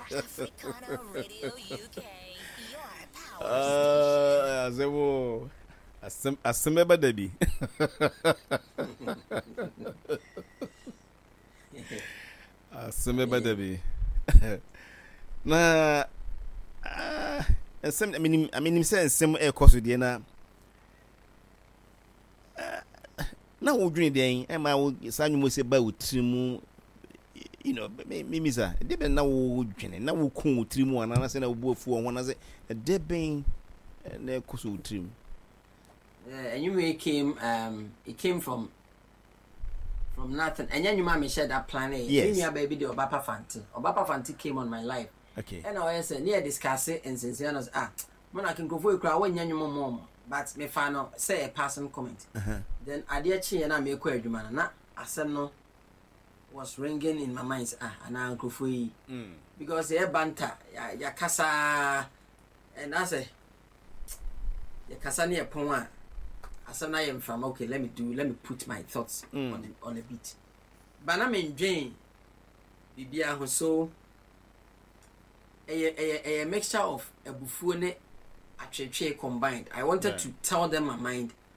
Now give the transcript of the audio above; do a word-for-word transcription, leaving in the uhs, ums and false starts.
Africana Radio U K, your power Ah, asɛm o, asɛm asɛm bɛba da bi, asɛm bɛba da bi. Na ah, nsɛm menim menim sɛ nsɛm ɛrekɔ so deɛ, na ah, na wodwene deɛn ɛma wo saa nnwom sɛ ba wo tiri mu you know me me misa ɛdeɛ bɛn na wodwene na woko wo tiri mu, anaa sɛ na wobu afu wɔ ho, anaasɛ ɛdeɛ bɛn na ɛkɔ so wo tiri mu? Uh, anyway, it came um, it came from from nothing. Ɛnyɛ nnwuma a mehyɛ da plan yɛ. Yes. Me nua baabi de Ɔbapa Fante. Ɔbapa Fante came on my life. Okay ɛna ɔyɛ sɛ ne yɛ discuss nsensɛn no sɛ, ah, mo na nkurɔfoɔ yi koraa wɔnyɛ nnwuma mɔ ɔmo, but mefa no sɛ a passing comment. uh-huh. Then adeɛ kyeeɛ na mekɔ adwuma no, na asɛm no was ringing in my mind sɛ, ah, anaa nkurɔfoɔ yi, mm. because yɛ banta yɛ- yɛkasa ɛna sɛ yɛkasa ne yɛ pɔn a, asɛm no ayɛ mframa. Okay, let me do let me put my thoughts Mm. on a, on a beat, but na mendwen biribiara ho, so ɛyɛ ɛyɛ ɛyɛ mixture of abufuo ne atwetwe combined. I wanted Right. to tell them my mind.